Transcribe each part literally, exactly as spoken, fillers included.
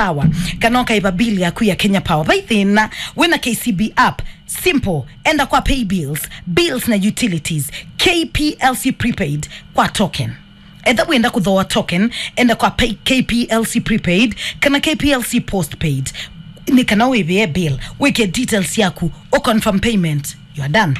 Power, kana ũkaĩva bill yaku ya Kenya Power. Vai thĩna, wĩna K C B app, simple, enda kwa pay bills, bills na utilities, K P L C prepaid kwa token. Etha wĩenda kũthooa token, enda kwa pay, K P L C prepaid kana K P L C postpaid. Nĩ kana wĩvĩe bill, wĩke details yaku, ũconfirm payment, you are done.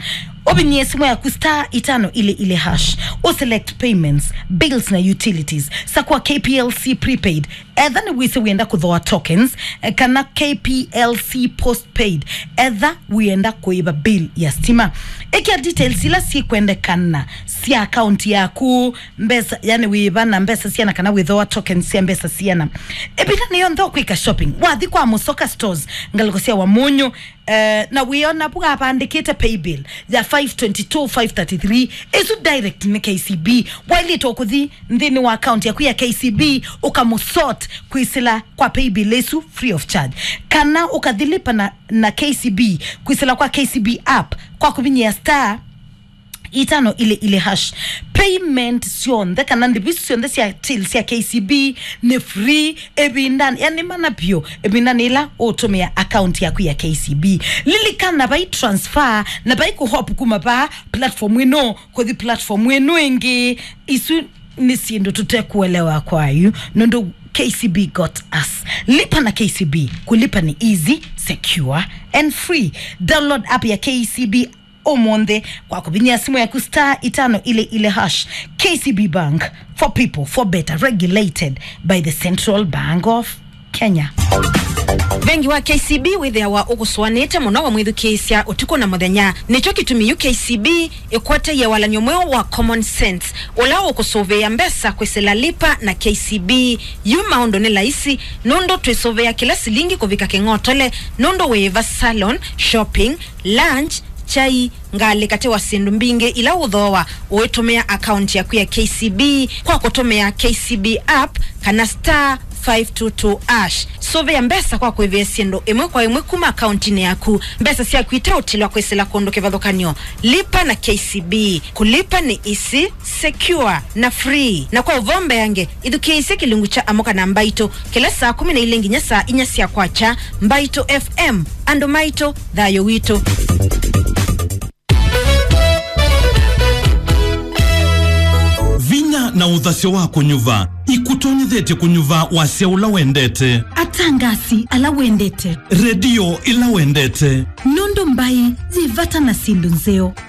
Ũvinyie simu yaku star itano ile ile hash, ũselect payments, bills na utilities, sakwa K P L C prepaid. Etha nĩwĩsĩ wĩenda kũthooa tokens, eh, kana K P L C postpaid, etha wĩenda kũĩva bill ya stima. Ĩkĩa details ila syĩkwendekana sya akaunti yaku, mbesa, yani wĩva na mbesa siana kana wĩthooa tokens sya mbesa siana. Ĩvindanĩ yonthe ũkwĩka shopping, wathi kwa Musoka Stores, ngalĩko sya Wamunyu, eh, na wĩona vu avandĩkĩte paybill ya five twenty-two five thirty-three, ĩsu direct nĩ K C B. Wailĩtwe kũthi nthĩnĩ wa account yaku ya K C B, ũkamũsort kwĩsĩla kwa paybill ĩsu free of charge. Kana ũkathi lipa na, na K C B kwĩsĩla kwa K C B app kwa kũvinyĩa star itano ile ile hash. Payment syonthe kana ndĩvi syonthe sya till sya K C B nĩ free ĩvindanĩ, yani mana vyũ, ĩvindanĩ ĩla ũtũmĩa account yaku ya K C B. Lilikana vai transfer na vai kũhop kuma va platform ĩno kũthi platform ĩno ĩngĩ. Isu nĩ syĩndũ tũtekũelewa kwayu, nũndũ K C B got us. Lipa na K C B. Kulipa ni easy, secure and free. Download app ya K C B ũmũnthĩ kwa kũvinyĩa simũ yaku star itano ile ile hash. K C B Bank, for people, for better, regulated by the Central Bank of Kenya. Vengi wa K C B wĩthĩawa ũkũsũanĩte mũno wamwĩthukĩĩsya ũtukũ na mũthenya. Nĩkyo kĩtumi yu K C B ĩkwatie walany'o mweũ wa Common Sense, ũla ũkũsũvĩĩa mbesa kwĩsĩla Lipa na K C B. Yu maũndũ nĩ laisi, nũndũ twĩsũvĩĩa kĩla silingi kũvika kĩng'otole, nũndũ wĩĩva salon, shopping, lunch, kyai, ngalĩ katĩ wa syĩndũ mbingĩ ila ũthooa ũitũmĩa akaunti yaku ya K C B kwa kũtũmĩa K C B app kana star five two two hash. Sũvĩa mbesa kwa kũĩvĩa syĩndũ ĩmwe kwa ĩmwe kuma akauntinĩ yaku. Mbesa syaku iteũtilwa kwĩsĩla kũndũ kĩvathũkany'o. Lipa na K C B. Kũlipa nĩ easy, secure na free. Na kwa ũvoo mbeange, ithukĩĩsye kĩlungu kya Amũka na Mbaitũ kĩla saa kũmi na ilĩ nginya saa inya sya kwakya. Mbaitũ F M, andũ maitũ, thayũ witũ. Vinya na ũthasyo wa kũnyuva ikũtonyethetye kũnyuva wasya ũla wendete. Atangasi ala wendete. Redio ĩla wendete. Nũndũ mbaĩ yĩ vata na syĩndũ nzeo.